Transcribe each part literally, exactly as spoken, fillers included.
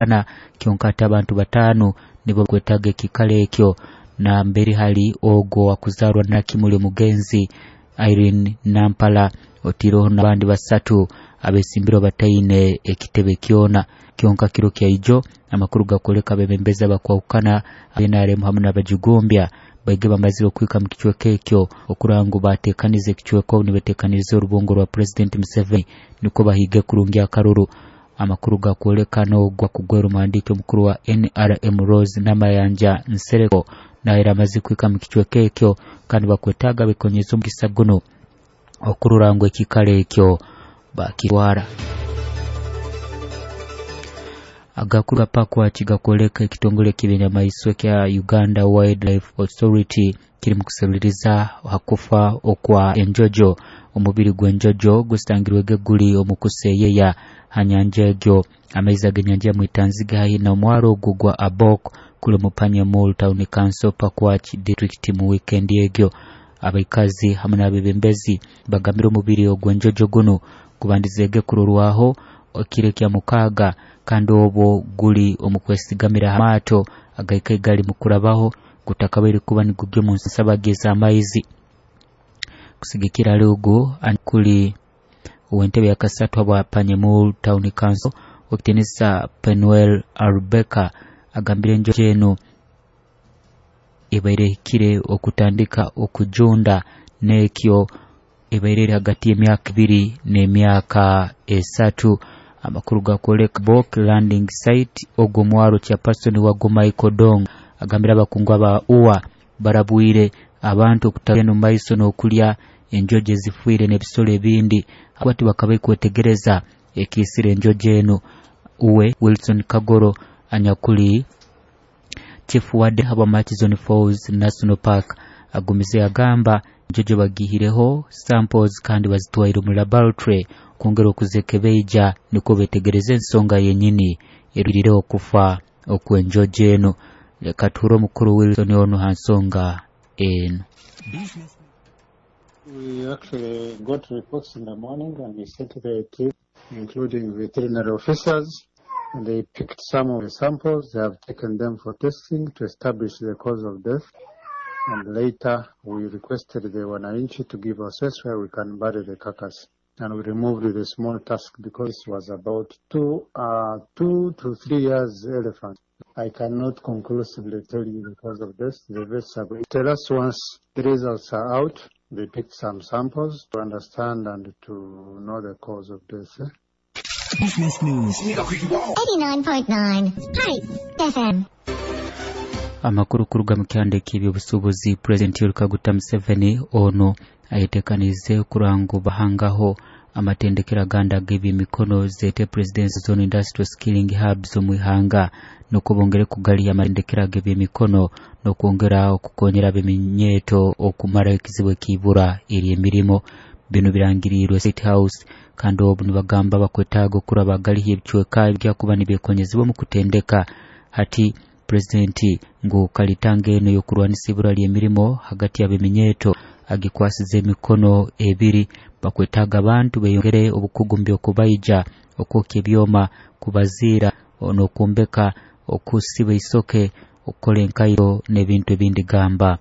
Ana kyonka ate abantu bataano nibo bakwetaaga ekiikaro ekyo, nambere hali ogwo owakuzarwa Nakimuli omugenzi Irene Nampala, otiireho n'abandi basatu abesimbirwe bataine ekitebe kyona. Kyonka kiro kyaijo amakuru gakwoleka abebembezi abakwahukana N R M hamu n'abajugumbya baige bamazire okuhika mu kicweka ekyo okurora ngu bateekaniza ekicweka obu nibeteekaniriza orubungo rwa Pulezidenti Museveni nukwo bahige kurungi akaruru. Amakuru gakwoleka n'ogwo akugwera omuhandiiki omukuru wa N R M Rose Namayanja Nsereko nawe amaze kuhika mu kicweka ekyo, kandi bakwetaaga bekonyeza omugisa guno okurora ngu ekiikaro ekyo bakitwara. Agakuru gapakwaki gakwoleka ekitongole ky'ebinyamaiswa kya Uganda Wildlife Authority kiri mu kuseruliriza hakufa okwa enjojo. Omubiri gw'enjojo gusangirwege guli omu kuseyeya ha nyanja egyo. Amaizi ag'enyanja ya Mwitanzige haihi na omwaro ogwo gwa Abok kuli omu Panyamul Town Council Pakwach District mu weekend egyo. Abaikazi hamwe n'abebembezi bagambire omubiri ogw'enjojo guno gubandizege kurorwaho ekiro kya mukaaga, kandi obwo guli omu kwesigamira ha maato agaikaire gali mu kurabaho gutakabaire kuba nigugya omu nsabage z'amaizi. Kusigikira hali ogwo kuli ow'entebe ya kasatu habwa Panyamul Town Council okitinisa Penuel Arubeka agambire enjojo eno ebaire ehikire okutandika okujunda n'ekyo ebaire eri hagati y'emyaka ibiri n'emyaka esatu. Amakuru gakwoleka Bok Landing Site ogwo mwaro chairperson wago Michael Dong agambira abakungu aba U A barabwire abantu okutagenda omu maiso n'okulya enjojo ezifiire n'ebisolo ebindi akwati bakabaire kwetegereza ekiisire enjojo eno. Uwe Wilson Kagoro anyakuli Chief Warden habwa Murchison Falls National Park agumize agamba enjojo bagihireho samples kandi bazitwaire omu laboratory kwongera okuzekebeija nukwo betegereze ensonga yenyini erwirire okufa okw'enjojo eno. Leka tuhure omukuru Wilson ono ha nsonga eno. We actually got reports in the morning and we sent the team, including veterinary officers, and they picked some of the samples. They have taken them for testing to establish the cause of death. And later we requested the Wananchi to give us where we can bury the carcass. And we removed the small tusk because it was about two, uh, two to three years elephant. I cannot conclusively tell you the cause of death. The vets are going to tell us once the results are out. They picked some samples to understand and to know the cause of death. Business News. eighty-nine point nine Spice F M. Amakuru kuruga mu kyanda eky'ebyobusuubuzi, Pulezidenti Yoweri Kaguta Museveni ono ayetekaniize okurango bahangaho amatendekero agandi ag'ebyemikono zete Presidency Zone Industrial Skilling Hubs omu ihanga, nukwo bongere kugaliya amatendekero ag'ebyemikono n'okwongera okukonyera ab'eminyeeto okumara ekizibu ekiibura ery'emirimo. Bino birangirirwe State House kandi obu nibagamba bakwetaaga okuraba bagaliha ebicweka ebyakuba nibyekonyezibwa omu kutendeka. Hati Pulezidenti ngu kalitanga eno y'okurwanisa ibura ly'emirimo hagati y'ab'eminyeeto agikwasize emikono ebiri. Bakwetaaga abantu beyongere obukugu mu by'okubaija, okwokya ebyoma, kubaziira, n'okwombeka, okusiba isoke, okukola enkairo n'ebintu ebindi gamba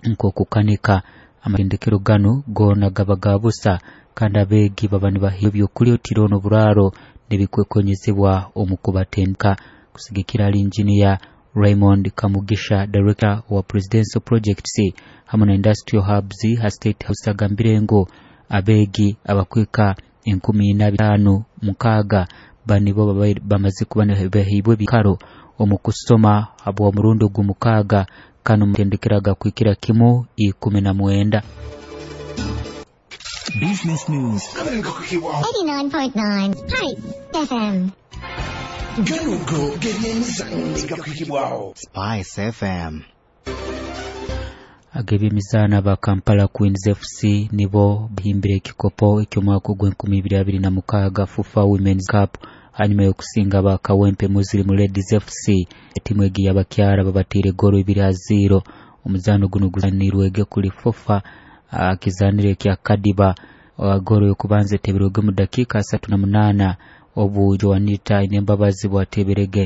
nk'okukanika. Amatendekero gano goona gaba ga busa kandi abeegi baba nibahiwa ebyokulya otiro n'oburaaro n'ebikwekonyezebwa omu kubatendeka. Kusigikira ali Engineer Raymond Kamugisha, Director wa Presidential Projects hamwe na Industrial Hubs ha State House agambire ngu abeegi abakwika enkumi ina bitaano mukaaga banibo bamaze kuba nibahibwa ebikaro omu kusoma habwa omurundi ogw'omukaaga kano mutendekero agakwikira kimu ikumi na mwenda. Business News. eighty-nine point nine Spice F M. Spice F M. Ag'ebyemizaano aba Kampala Queens F C nibo bahimbire ekikopo eky'omwaka ogw'enkumi ibiri abiri na mukaaga FUFA Women's Cup hanyuma y'okusinga aba Kawempe Muslim Ladies F C. Etimu egi y'abakyara babateire goolo ibiri ha ziro. Omuzaano guno guzanirwege kuli FUFA akizanire kya Kadiba. Goolo y'okubanza eteberwege mu dakiika asatu na munaana Obu Joanita Ainembabazi bwateberege.